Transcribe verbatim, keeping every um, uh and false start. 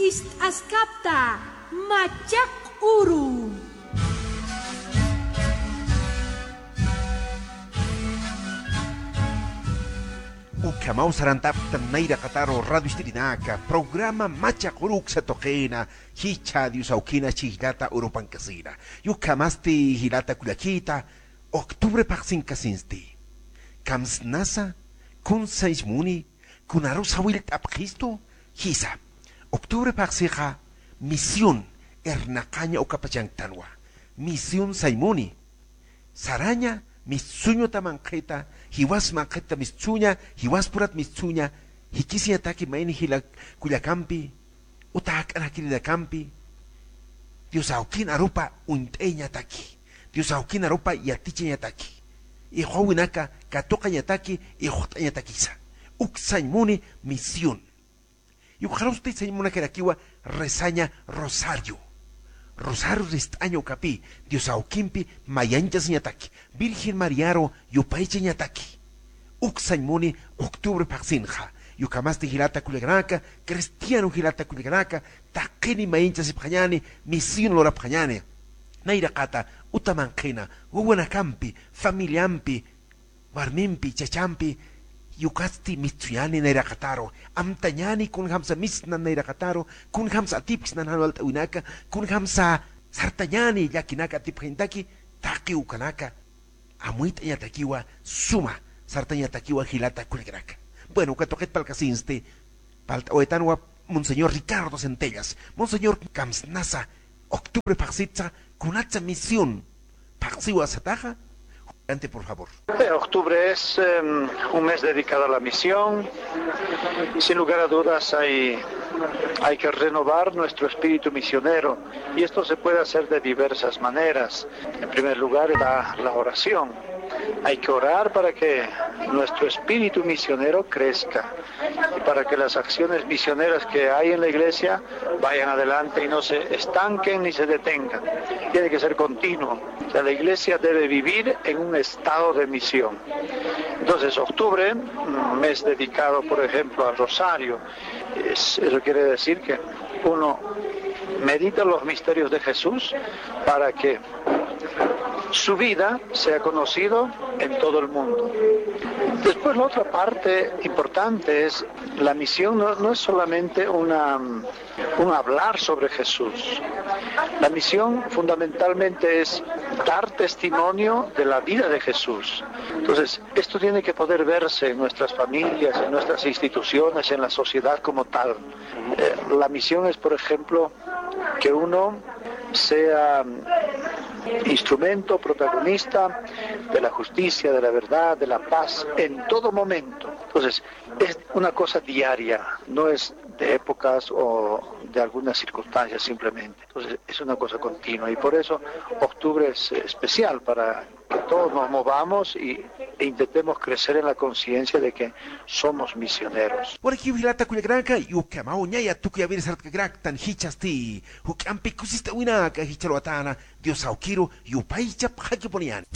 Ist'askapta machaq uru. Ukhamaw sarantaptan nayraqataru radio ist'irinaka, programa Machaq Uru uksa tuqina, jichha Dios awkina chijllata urupankasina. Ukhamasti jilata kullakita, octubre phaxsinkasinsti. Kamsnasa, kun sañs muni, kunarusa willt'apxistu, jisa. Octubre phaxsixa, misión, irnaqaña ukapachanktanwa. Misión sañ muni. Saraña, mistsuñuta manqhita, jiwas manqhita mistsuña, jiwas purat mistsuña, jikisiñataki mayni jila kullakampi, uta jak'anakininakampi, Dios awkin arupa uñt'ayañataki, Dios awkin arupa yatichañataki, iqwawinaka katuqañataki, iqt'añatakisa. Uk sañ muni misión. Yukxarusti sañ munakirakiwa rezaña rosario. Rosario rist'aña ukapi, Dios awkimpi mayanchasiñataki, Virgen Mariaru yupaychañataki. Uk sañ muni octubre phaxsinxa. Ukhamasti jilata kullakanaka, cristiano jilata kullakanaka, taqini mayanchasipxañani, misión lurapxañani. Nayraqata, uta manqhina, wawanakampi, familiampi, warmimpi, chachampi, yukasti mistsuñani nayraqataru, amtañani kunjamsa misnan nayraqataru, kunjamsa atipxsnan jan walt'awinaka, kunjamsa sartañani llakinaka atipxañataki, taqi ukanaka, amuyt'añatakiwa suma, sartañatakiwa jilata kullakanaka. Bueno, uka tuqit parlkasinsti, parlt'awaytanwa Monseñor Ricardo Centellas. Monseñor, kamsnasa, octubre phaxsitsa, kunatsa misión phaxsiwa sataxa, adelante, por favor. Eh, octubre es, em, un mes dedicado a la misión. Sin lugar a dudas, hay, hay que renovar nuestro espíritu misionero, y esto se puede hacer de diversas maneras. En primer lugar, la, la oración. Hay que orar para que nuestro espíritu misionero crezca y para que las acciones misioneras que hay en la iglesia vayan adelante y no se estanquen ni se detengan. Tiene que ser continuo. O sea, la iglesia debe vivir en un estado de misión. Entonces, octubre, un mes dedicado, por ejemplo, al rosario. Es, eso quiere decir que uno medita los misterios de Jesús para que su vida sea conocido en todo el mundo. Después, la otra parte importante es, la misión no, no es solamente una, un hablar sobre Jesús. La misión fundamentalmente es dar testimonio de la vida de Jesús. Entonces, esto tiene que poder verse en nuestras familias, en nuestras instituciones, en la sociedad como tal. Eh, la misión es, por ejemplo, que uno sea instrumento, protagonista de la justicia, de la verdad, de la paz en todo momento. Entonces, es una cosa diaria, no es de épocas o de algunas circunstancias simplemente. Entonces, es una cosa continua y por eso octubre es especial para que todos nos movamos y, e intentemos crecer en la conciencia de que somos misioneros. Walikiw jilata kullakanaka, ukhamaw ñaya tukuyaw sartkaraktan jichhasti, juk'ampi kusist'awinaka jichharuwatana, Dios awkiru yupaychapxakipuniyani.